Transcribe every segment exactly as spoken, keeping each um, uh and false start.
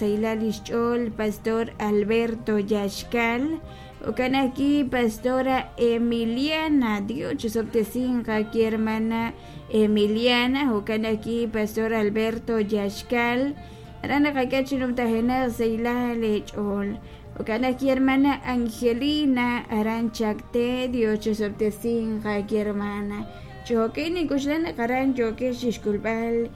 Sahilal lix ch'ool Pastor Alberto Yaxcal jo'kan ajwi' Pastora Emiliana Dios chisob'tesinq aki hermana Emiliana jo'kan ajwi' Pastor Alberto Yaxcal aran naqak'e chi numtajenaq sahilal eech'ool jo'kan ajwi' hermana Angelina aran Chacté Dios chisob'tesinq aki hermana chi jo'kan nink'uxlan naq aran yookex chixk'ulb'al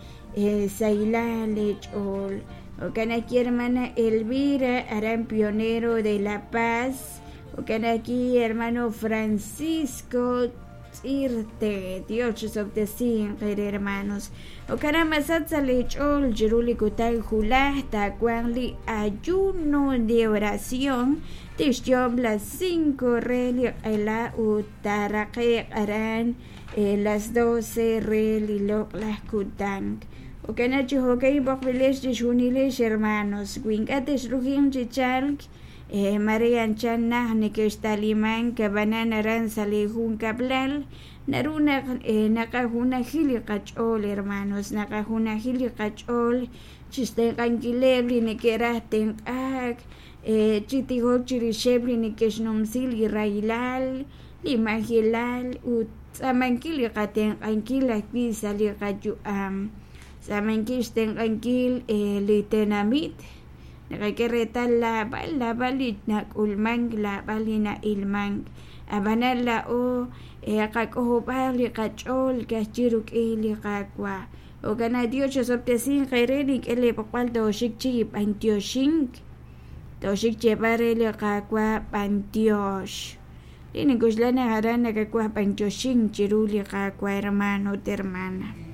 sahilal eech'ool jo'kan ajwi' hermana Elvira aran Pionero de La Paz jo'kan ajwi' hermano Francisco Tz'irte Dios chisob'tesinq eere hermanos jo'kan naq masach sa' leech'ool chiru li kutan julaj taawanq li ayuno de oración tixyoob' las cinco re li q'ela ut taaraqe'q aran las doce re li loq'laj kutan jo'kan naq chi jo'ka'in b'oqb'ilex chixjunilex hermanos wi ink'a' texrujiq chi chalk mare anchal naj nekextalimank ab'anan aran sa' li junkab'lal naru naq naqajunaji li qach'ool hermanos naqajunaji li qach'ool chixtenq'ankileb' li neke'raj tenq'aak chi tijok chirixeb' li neke'xnumsi li rahilal li majelal ut tz'aamankil li qatenq'ankil ajwi' sa' li qayu'am tz'aamankil xtenq'ankil li tenamit naqak'e reetal laab'al laab'al li nak'ulmank laab'al li na'ilmank ab'anan laa'o qak'ojob'aaq li qach'ool ka'ajwi' rik'in li Qaawa' jo'kan naq Dios chisob'tesinq eere nink'e leeb'oqb'al tooxik chi b'antioxink tooxik xyeeb'al re li Qaawa' b'antiox li nink'uxlan naq aran nakawaj b'antioxink chiru li Qaawa' hermano ut hermana.